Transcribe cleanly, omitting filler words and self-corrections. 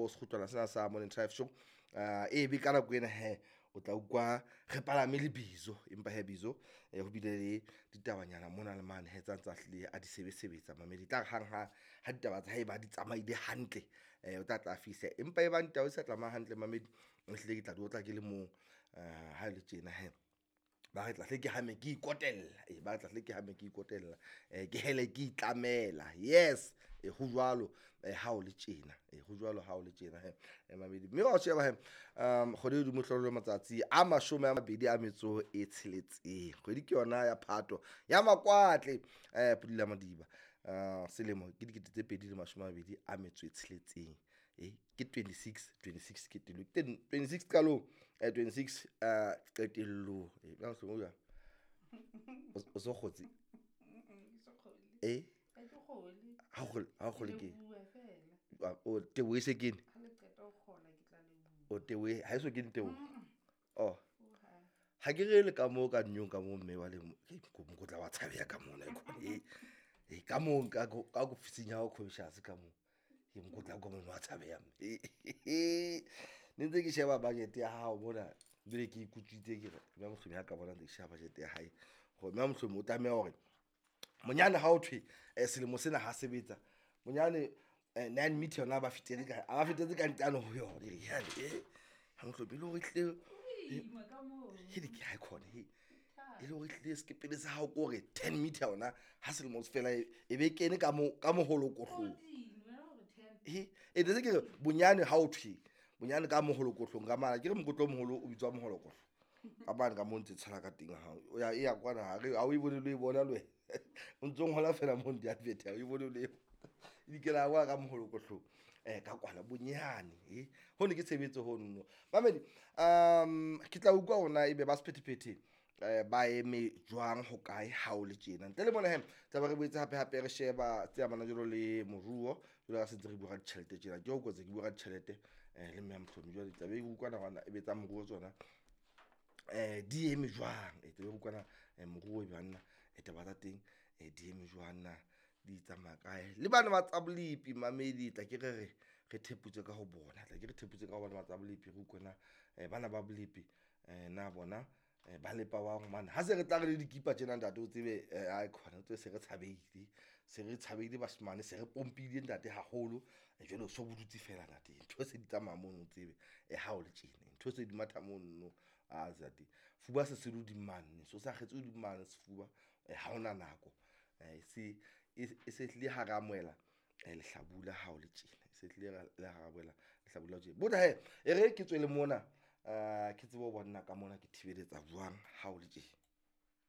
ho sekgutlwana sena sa Morning Drive Show. E be ka nako ena he o tla utlwa re palame le Bizo, empa he Bizo ho bile le ditabanyana mona le mane he tsa ntsa hlile a di sebesebetsa mamedi. Tla re hang ha ha ditaba tsa hae ba di tsamaile hantle, o tla tla fihla, empa e bang taba di sa tsamaya hantle mamedi, ehlile ke tla di otla ke le mong. Ha e le tjena he ba re tla hle ke hame ke ikotella, ee ba re tla hle ke hame ke ikotella, ke hele ke itlamela. Yes, e ho jwalo ha o le tjena, e ho jwalo ha o le tjena he mamedi. Mme wa sheba he kgwedi e hodimo hlolo matsatsi a 26, kgwedi ke yona ya Phato ya Makwatle, Pudula Madiba. Selemo ke 2026, ke 26 26 qetellong, ke 26 qalong, 26 qetellong. Na mohlomong jwang o so kgotse? Eh, ha o kgole, ha o kgole ke o teboho e se kene, o teboho ha e so kene teboho. Oh, ha ke re le ka moo ka nyong ka moo mme wa le mokotla wa tshabeha ka mona e e ka moo ka ka ofising ya hao conscious ka moo ke mokotla ka mono wa tshabeha mme. Ne ntse ke sheba budget ya hao mona, jwale ke ikutswitse ke re mme mohlomong ha ka bona ntse ke sheba budget ya hae, hore mme mohlomong o tlameha hore monyane ha o thwe selemo sena ha sebetsa monyane 9 meter yona ba fetetse ka a ba fetetse ka ntano ho yona e re yane ha mohlomong e le hore ehlile he ke ha khona he e le hore ehlile sekepele sa hao ke hore 10 meter yona ha selemo se fela e be kene ka mo ka moholokohlong. E e se ke re bonyane ha o thwe bonyane ka moholokohlong ka mara ke re mokotlo o moholo o bitswa moholokohlo ka mane ka mo ntse tshela ka teng ha o ya e ya kwana ha re ha o e bone le e bona le wena o ntso ngola fela mo di-advert ha o e bone le e dikela kwa ka moholokohlong ka kwana bonyane e ho ne ke tshebetso ho nno mamedi. Ke tla utlwa hore ebe ba sephethephethe ba eme jwang ho kae ha o le tjena. Ntle le mona he tla be re boetse hape hape re sheba tse amanang jwalo le moruo, jwalo ka se ntse re bua ka ditjhelete tjena. Ke o kotse ke bua ka ditjhelete le mme ya Mohlomi, jwale tla be re utlwana hore ebe tsa moruo tsona di eme jwang, e tlabe re utlwana moruo e banna taba tsa teng di eme jwang na, di tsamaya kae le bana ba tsa bolepi mamedi. Tla ke re re re theputse ka ho bona, tla ke re theputse ka ho bona ba tsa bolepi, re utlwe na bana ba bolepi na bona ba lepa wang mane ha se re tla re le dikipa tjena ntate o tsebe ai khona o tsebe se re tshabeile, se re tshabeile bashemane, se re pompile ntate haholo. Jwale o so bodutse fela ntate, ntho se di tsamaya mono o tsebe ha o le tjena ntho se di matha mono a ntate fuba se se le hodimo mane, so sa kgetse hodimo mane sefuba ha hona nako se e se hlile ha re amohela lehlabula ha o le tjena, se hlile le ha re amohela lehlabula tjena. Botha he e re ke tswele mona ke tsebe ho bona ka mona ke thibeletsa jwang ha o le tjena.